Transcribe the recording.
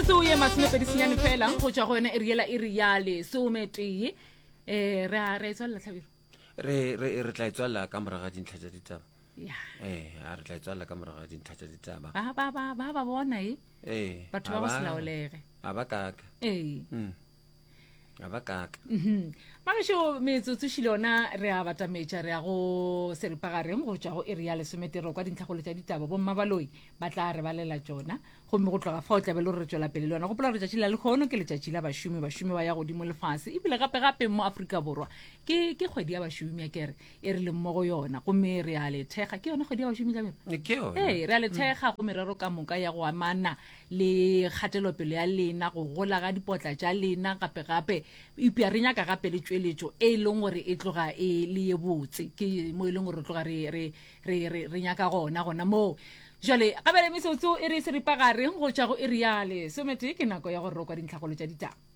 Metsotso ye masomepedi senyane fela go tšwa go yona iri yela iri ya lesometee. Um re a re e tswalela tlhabiro. Re re re tla e tswalela ka morago ga dintlha tša ditaba. Ya. Ee, a re tla e tswalela ka morago ga dintlha tša ditaba. Ba ba ba ba ba bona e. Ee. Batho ba go se laolege. A ba kaka. Ee. Mm. A ba kaka. Mhm. Magešo metsotso šile yona re a batametša re ya go seripagareng go tšwa go iri ya lesometero kwa dintlhakgolo tša ditaba bomma baloi ba tla re balela tšona gomme go tloga fao tlabe le gore re tšwela pele le yona gopola gore letšatši la lekgono ke letšatši la bašomi bašomi ba ya godimo lefase ebile gape gape mo Afrika Borwa ke ke kgwedi ya bašomi ya kere e re leng mo go yona gomme re a le thekga ke yona kgwedi ya bašomi ka ke yona ee re a le thekga go merero ka moka ya go amana le kgatelopele ya lena go gola ga dipotla tša lena gape gape eupša re nyaka gape le tšweletšo e leng gore e tloga e le ye botse ke mo e leng gore re tloga re re re re re nyaka gona gona moo jale gabele metsotso e re seripagare go tšwa go iri ya lesometee ke nako ya gore re kwa dintlhakgolo tša ditaba.